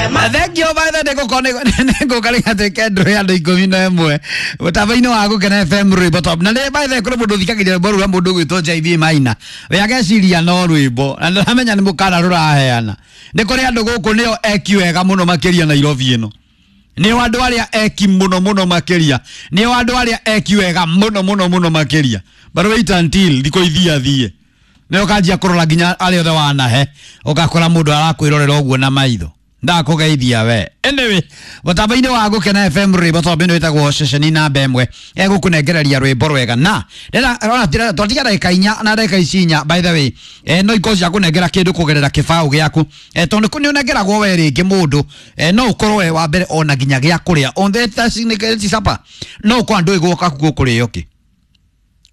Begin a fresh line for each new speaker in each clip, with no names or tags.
Thank you by the nĩngũka gatuĩke ndũrũ ya andũ 11 mũtambo-inĩ wa Gũkena FM rwĩmbo top. Na nĩ by the kũrĩ mũndũ ũthikagĩrĩria rwĩmbo rũu mũndũ ũgwĩtwo JB Maina, we ageciria no rwĩmbo na ndĩramenya nĩ mũkana rũraheana. Nĩ kũrĩ andũ gũkũ nĩo eki wega mũno makĩria Nairobi ĩno, nĩo andũ arĩa eki mũno mũno makĩria, nĩo andũ arĩa eki wega mũno mũno mũno makĩria. But wait until thikũ ithiathiĩ nĩ ũkanjia kũrora nginya arĩa othe wanahe, ũgakora mũndũ arakwĩrorera ũguo na maitho ndakũgeithia we. Anyway, mũtambo-inĩ wa Gũkena FM rwĩmbo top ĩno ĩtagwo ceceni namba ĩmwe egũkũnengereria rwĩmbo rwega na twatiga ndagĩka 4 na ndagĩka ici 4 by the way, no ikorwo cia kũnengera kĩndũ kũgerera kĩbaũ gĩaku, tondũ nĩ ũnengeragwo we rĩngĩ mũndũ, no ũkorwo we wa mbere ona nginya gĩa kũrĩa on the supper, no ũkorwo ndũĩ gwoka gũkũrĩo kĩ.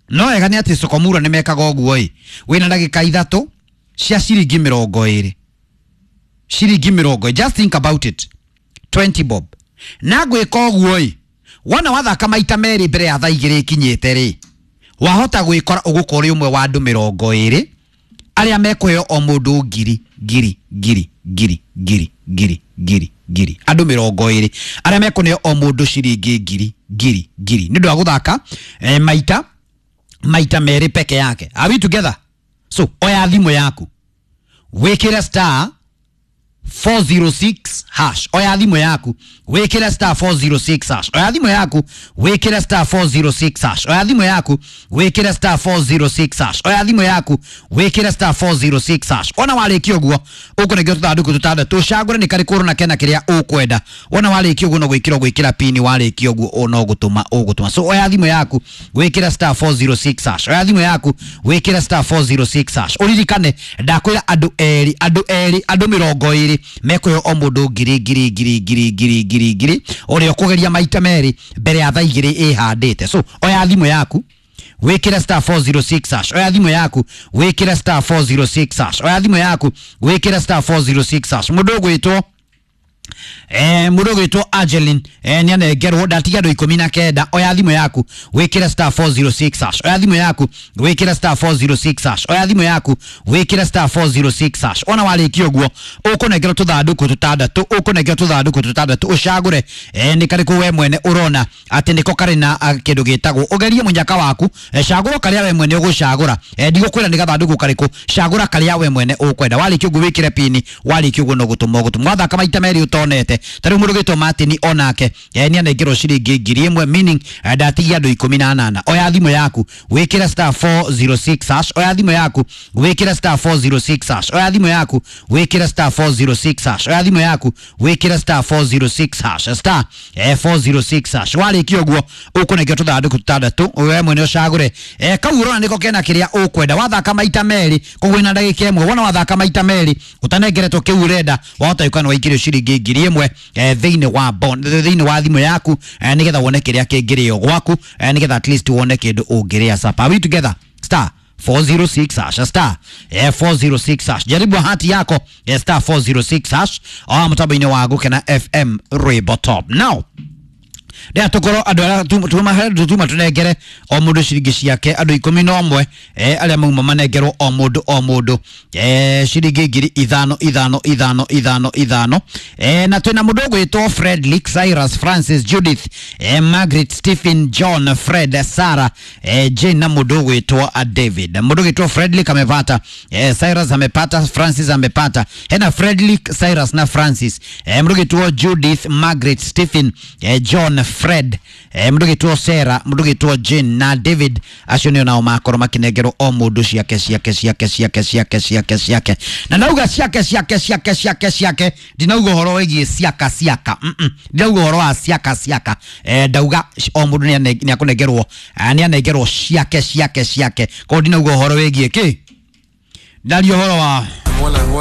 No wega nĩ atĩ Sokomura nĩ mekaga ũguo ĩ, wĩna ndagĩka 3 cia ciringi 20, ciringi 20, just think about it, 20 bob. Na gwĩka ũguo ĩ, wona wathaka maita merĩ mbere ya thaa 2 ikinyĩte rĩ, wahota gwĩkora ũgũkorwo ũrĩ ũmwe wa andũ 20 arĩa mekũheo o mũndũ ngiri ngiri ngiri ngiri ngiri ngiri ngiri ngiri, andũ 20 arĩa mekũneo o mũndũ ciringi ngiri ngiri ngiri nĩ ũndũ wa gũthaka maita merĩ peke yake. Are we together? So oya thimũ yaku wĩkĩre star 406 hash. Oya thimũ yaku wĩkĩre star 406 hash. Oya thimũ yaku wĩkĩre star 406 hash. Oya thimũ yaku wĩkĩre star 406 hash. Oya thimũ yaku wĩkĩre star 406 hash. Ona warĩkia ũguo ũkũnengera tũthandũkũ tũtandatũ, ũcagũre nĩ karĩkũ ũrona kena kĩrĩa ũkwenda. Ona warĩkia ũguo no gwĩkĩra ũgwĩkĩra pini, warĩkia ũguo no gũtũma ũgũtũma. So oya thimũ yaku wĩkĩre star 406 hash. Oya thimũ yaku wĩkĩre star 406 hash. Ũririkane ndakwĩra andũ erĩ, andũ erĩ, andũ 20 mekũheo o mũndũ ngiri ngiri ngiri ngiri ngiri ngiri ngiri, ũrĩa ũkũgeria maita merĩ mbere ya thaa 2 ĩhandĩte. So oya thimũ yaku wĩkĩre star 406 hash. Oya thimũ yaku wĩkĩre star 406 hash. Oya thimũ yaku wĩkĩre star 406 hash. Mũndũ ũgwĩtwo mũndũ ũgwĩtwo Angeline, nĩ anengerwo ndatiga andũ 19. Oya thimũ yaku wĩkĩre star 406 hash. Oya thimũ yaku wĩkĩre star 406 hash. Oya thimũ yaku wĩkĩre star 406 hash. Ona warĩkia ũguo ũkũnengerwo tũthandũkũ tũtandatũ, ũkũnengerwo tũthandũkũ tũtandatũ, ũcagũre nĩ karĩkũ we mwene ũrona atĩ nĩko karĩ na kĩndũ gĩtagwo, ũgerie mũnyaka waku, cagũra karĩa we mwene ũgũcagũra, ndigũkwĩra nĩ gathandũkũ karĩkũ, cagũra karĩa we mwene ũkwenda. Warĩkia ũguo wĩkĩre pini, warĩkia ũguo no gũtũma ũgũtũma. Wathaka maita merĩ ũtonete. Ta rĩu mũndũ ũgwĩtwo Martin onake nĩ anengerwo ciringi 1000, meaning ndatigia andũ 18. Oya thimũ yaku wĩkĩre star 406 hash. Oya thimũ yaku wĩkĩre star 406 hash. Oya thimũ yaku wĩkĩre star 406 hash. Oya thimũ yaku wĩkĩre star 406 hash. Star 406 hash. Warĩkia ũguo ũkũnengerwo tũthandũkũ tũtandatũ, we mwene ũcagũre kau ũrona nĩko kena kĩrĩa ũkwenda. Wathaka maita merĩ koguo ina ndagĩka 1, wona wathaka maita merĩ ũtanengeretwo kĩu ũrenda, wahota gũkorwo nĩ waikĩrio ciringi 1000 thĩinĩ wa bond, thĩinĩ wa thimũ yaku, nĩgetha wone kĩrĩa kĩngĩrĩo gwaku, nĩgetha at least wone kĩndũ ũngĩrĩa supper. Are we together? Star 406 hash, star 406 hash. Jaribu bahati yako, star 406 hash mũtambo-inĩ wa Gũkena FM rwĩmbo top. Now rĩrĩa tũkorwo andũ arĩa tuma tũnengere o mũndũ ciringi ciake, andũ 11 arĩa mauma manengerwo o mũndũ o mũndũ ciringi ngiri 5 5 5 5 5. Na twĩna mũndũ ũgwĩtwo Fredrick, Cyrus, Francis, Judith, Margaret, Stephen, John, Fred, Sarah, Jane na mũndũ ũgwĩtwo David. Mũndũ ũgwĩtwo Fredrick amepata, Cyrus amepata, Francis amepata, hena Fredrick, Cyrus na Francis. Mũndũ ũgwĩtwo Judith, Margaret, Stephen, John, Fred, mũndũ ũgwĩtwo Sarah, mũndũ ũgwĩtwo Jane na David, acio nĩo nao makorwo makĩnengerwo o mũndũ ciake ciake ciake ciake ciake ciake ciake. Na nauga ciake ciake ciake ciake ciake, ndinauga ũhoro wĩgiĩ ciaka ciaka, ndinauga ũhoro wa ciaka ciaka, ndauga o mũndũ nĩ akũnengerwo, nĩ anengerwo ciake ciake ciake, koguo ndinauga ũhoro wĩgiĩ kĩ, ndaria ũhoro wa